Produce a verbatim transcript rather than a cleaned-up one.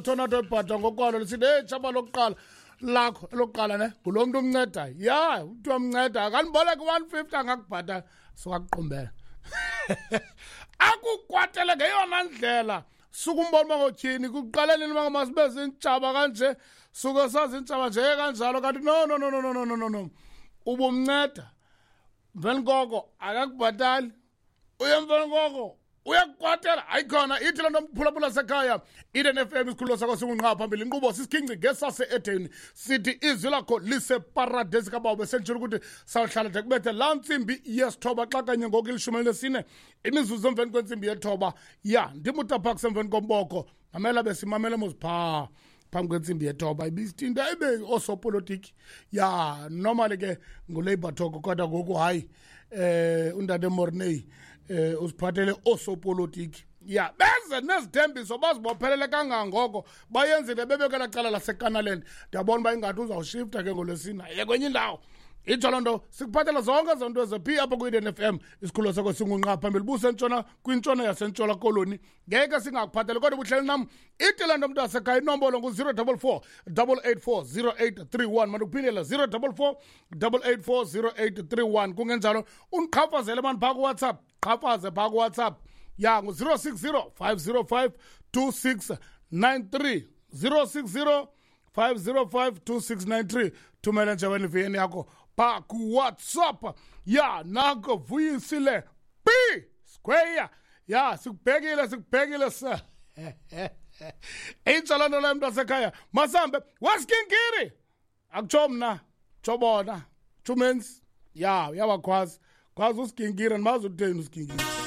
Tornado ebhada ngokwalo lisithi, hey, tshaba lokuqala lakho elokuqala ne ngulo mntu umncedayo. Ya, umntu amnceda akandiboleka one fifty angakubhatala, sukakuqumbela akukwatele ngeyona ndlela. Suka umbona uba ngotyhini kuqaleleni uba masibe ziintshaba kanje, suke saziintshaba nje kanjalo, kanti no no no no no no no no ubumnceda mveni koko akakubhatali, uye mveni koko uyakukwatela. Hayi khona ithi loo nto mphulaphula sekhaya Eden F M, isikhululo sakho singunqa phambili, inkqubo sisikhinci ngesase-Edeni, sithi izwi lakho liseparadesi kabawo. Besenditshilo ukuthi sawuhlala de kubethe laa ntsimbi yesithoba xa kanye ngoku ilishumi elinesine imizuzu emveni kwentsimbi yethoba. Ya, ndim uTaphaks emveni komboko, mamela besimamele mos phaa phambi kwentsimbi yethoba ibisithi into ayibe oosopolitiki. Ya, normally ke nguLabour talk, kodwa ngoku hayi eh uNtate Morney eh usiphathele oosopolitiki. Ya, beze nezithembiso bazibophelele kangangoko bayenzile bebekela cala laseKanaland. Ndiyabona uba ingathi uzawushifta ke ngolwesine aye kwenye indawo. Itsho loo nto sikuphathela zonke ezo nto ezephi apha kwi-Eden F M, isikhululo sakho singunqa phambili busentshona kwintshona yasentshona koloni. Ngeke singakuphatheli kodwa buhleli nam. Ithi loo nto mntu wasekhaya, inombolo ngu-zero double four double eight four zero eight three one. Mandikuphindele zero double four double eight four zero eight three one. Kungenjalo undiqhafazele mani phaa kuWhatsApp, qhafaze phaa kuWhatsApp. Ya, ngu-zero six zero five zero five two six nine three, zero six zero five zero five two six nine three. Thumela nje wena I V N yakho phaa kuWhatsApp. Ya, nako Vuyisile P Square. Ya, sikubhekile, sikubhekile sir. Intsha loo nto leyo mntu wasekhaya. Masambe wesikinkiri, akutsho mna, tsho bona, tsho umenzi. Ya, uyabakhwaza khwaza usikinkiri, andimazi utheni usikinkiri.